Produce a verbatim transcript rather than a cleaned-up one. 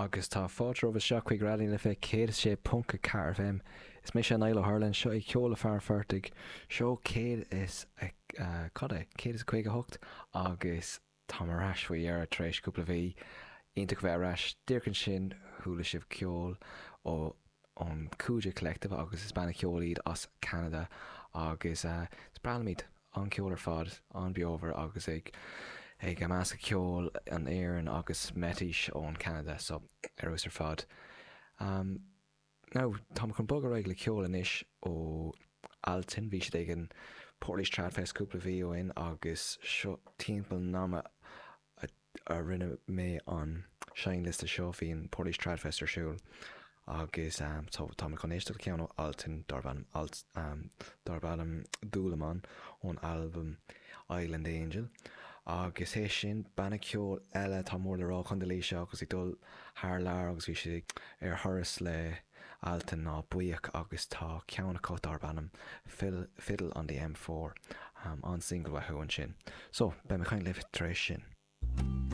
Agus tá fáilte romhaibh isteach chuig Raidió na Life céad is sé ponc a ceathair FM. Is mise Niall Ó hUrlain, seo é Ceol le Fear an Phortaigh, seó céad is cad é? céad is caoga hocht agus táim ar ais faoi dheireadh tar éis cúpla mhí. Iontach a bheith ar ais. Díreach ansin chuala sibh ceol ó ón Kooja Collective agus is banna ceoil iad as Ceanada agus is breá liom iad. An-cheol ar fad, an-bheomhar agus ag ag meascadh ceol an Éireann agus Métis ón Canada so ar fheabhas ar fad. Um, now, táim chun bogadh ar aghaidh le ceol anois ó Altan, bhí siad ag an Portlaoise Tradfest cúpla mhí ó shin agus seo timpeall an ama a rinne mé an seinnliosta seo bhí an Portlaoise Tradfest ar siúl agus um, so tá mé chun éisteacht le ceann ó Altan darb ainm Alt um, darb ainm Dúlamán ón albam Island Angel. Agus é sin banna ceoil eile atá mór le rá Chontae Laoise agus ag dul thar lear agus bhí siad ar thuras le Altan ná Buíoch agus tá ceann acu darb ainm Fiddle on the M four um, an single uathu ansin. So beidh mé ag caint libh tar éis sin.